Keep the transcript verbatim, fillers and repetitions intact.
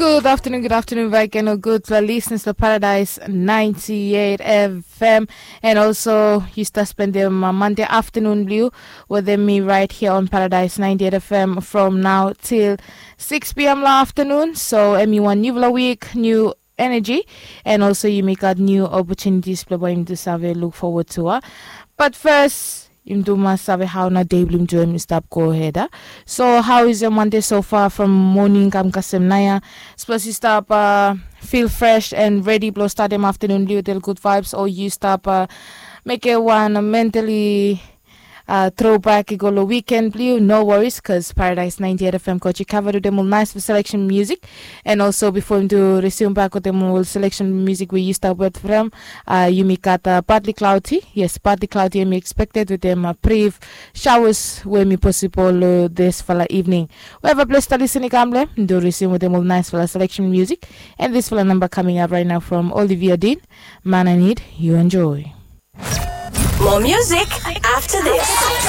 Good afternoon, good afternoon back again, or good for listeners to Paradise ninety-eight F M. And also, you start spending uh, Monday afternoon blue with me right here on Paradise ninety-eight F M from now till six p m la afternoon. So, emi wan new vla week, new energy, and also you make out new opportunities blue boy to save look forward to. Uh. But first, im do mas save how na day blue join me stop go ahead. Uh. So, how is your Monday so far from morning? Kam kasem naya. Suppose you stop uh, feel fresh and ready blow start dem afternoon blue till good vibes, or you stop uh, make it one mentally uh, throwback i go lo weekend blue. No worries, cause Paradise ninety-eight F M coach cover to them all nice for selection music. And also before him to resume back with them all selection music we used to with from uh, you me got uh, partly cloudy. Yes, partly cloudy and me expected with them uh, brief showers where me possible uh, this fala evening. Wherever place to listen gamble, do resume with them all nice fala selection music. And this fala number coming up right now from Olivia Dean. Man, I need you enjoy. More music after this.